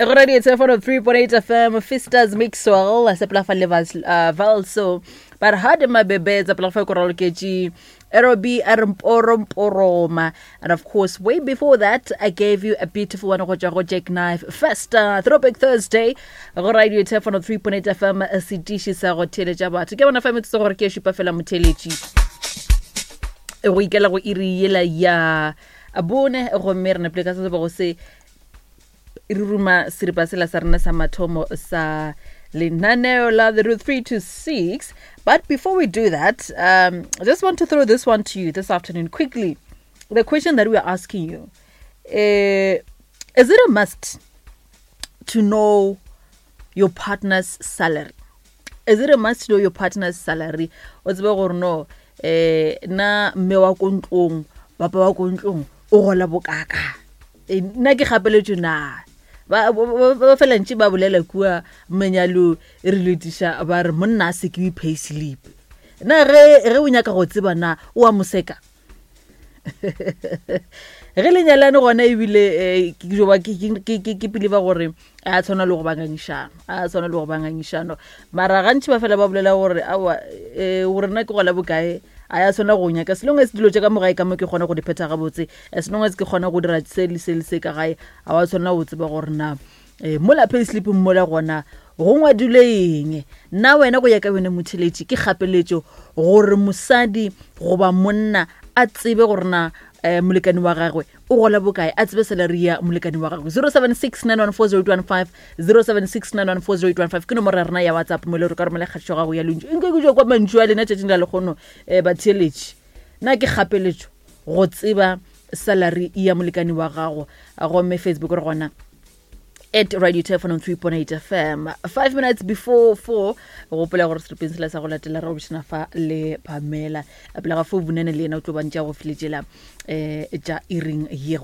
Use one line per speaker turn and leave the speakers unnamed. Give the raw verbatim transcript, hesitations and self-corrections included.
Go radio three point eight F M, Fistas Mixwell, sepela fa le uh, Valso. But hard mabebe tsa pela fa ko raloketše Aerobi Poroma. And of course, way before that, I gave you a beautiful one go tšwa go Jack Knife Festa Throwback Thursday. Go radio three point eight F M, setiši sa go theeletša batho. Ke bona fa metsotso gore ke e šupa fela motheeletši. Go ikela go iri yela ya bone, gomme re nepile ka se se bego se re ruma seripa sela sa rena sa mathomo sa lenaneo la the route three to six. But before we do that, um, I just want to throw this one to you this afternoon quickly. The question that we are asking you, uh, is it a must to know your partner's salary? Is it a must to know your partner's salary? O tsebe gore no, eh, na mme wa ko ntlong, papa wa ko ntlong, o gola bokaka. Eh, nna ke gapeletšwe na? Ba, ba, ba, ba fela ntše ba bolela kua menyalo e re letiša, ba re monna a se ke pay slip. Na ge, ge o nyaka go tseba na o a moseka? Ge le nyalane gona ebile, eh, ke jo ba, ke, ke, ke, ke, ke pele ba gore a tshwana le go ba ngangišano, a tshwana le go ba ngangišano. Mara gantši ba fela ba bolela gore aowa, eh, gore nna ke gola bokae, a ya tshwana go nyaka. As long as dilo tša ka mo gae ka mo ke kgona go di phetha gabotse, as long as ke kgona go dira se le se le se ka gae, a wa tshwanela go tseba gore na, eh, mola pay slip mola gona go ngwadilwe eng. Nna wena go ya ka wena motheeletši, ke kgapeletšo gore mosadi goba monna a tsebe gore na, eh, molekane wa gagwe o gola bokae, a tsebe salary ya molekane wa gagwe. zero seven six nine one four zero eight one five, zero seven six nine one four zero eight one five ke nomoro ya rena ya WhatsApp mo le re ka romela kgatišo gago ya lentšu. Nke ke tšwa kwa mantšu a lena tšatšing la lekgono, eh, batheeletši. Nna ke kgapeletšo go tseba salary ya molekane wa gago. Gomme Facebook re gona at Radio Turf on three point eight F M. Five minutes before four, gopola gore seripeng sela sa go latela re go bošana fa le Pamela. Pele ga fo Vunene le yena o tlo ba ntša go filetšela, eh, tša iring ye.